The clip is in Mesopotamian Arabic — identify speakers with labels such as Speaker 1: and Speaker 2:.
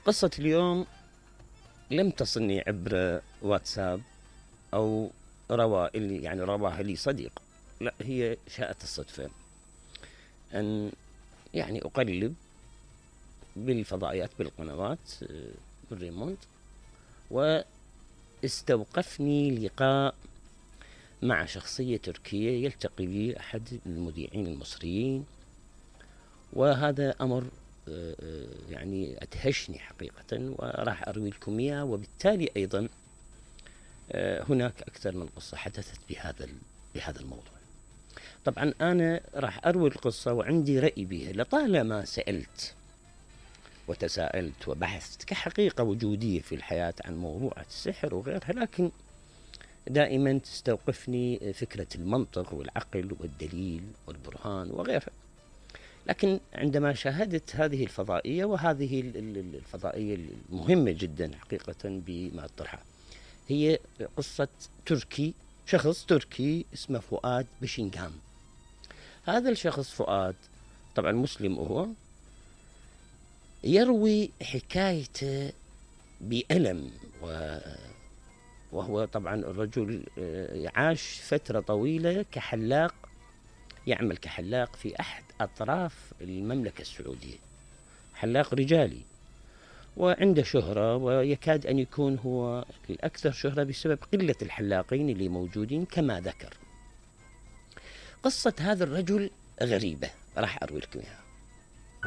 Speaker 1: قصة اليوم لم تصلني عبر واتساب أو رواها لي صديق، لا، هي شاءت الصدفة أن أقلب بالفضائيات بالقنوات بالريموت، واستوقفني لقاء مع شخصية تركية يلتقي بي أحد المذيعين المصريين، وهذا أمر أدهشني حقيقة، وراح أروي لكم إياه. وبالتالي أيضا هناك أكثر من قصة حدثت بهذا الموضوع. طبعا أنا راح أروي القصة وعندي رأي بها، لطالما سألت وتساءلت وبحثت كحقيقة وجودية في الحياة عن موضوع السحر وغيرها، لكن دائما تستوقفني فكرة المنطق والعقل والدليل والبرهان وغيرها. لكن عندما شاهدت هذه الفضائية، وهذه الفضائية المهمة جدا حقيقة بما تطرحها، هي قصة شخص تركي اسمه فؤاد بشنغام. هذا الشخص فؤاد طبعا مسلم، هو يروي حكايته بألم، وهو طبعا الرجل عاش فترة طويلة كحلاق، يعمل كحلاق في أحد أطراف المملكة السعودية، حلاق رجالي، وعنده شهرة، ويكاد أن يكون هو الأكثر شهرة بسبب قلة الحلاقين اللي موجودين كما ذكر. قصة هذا الرجل غريبة، راح أروي لكم إياها.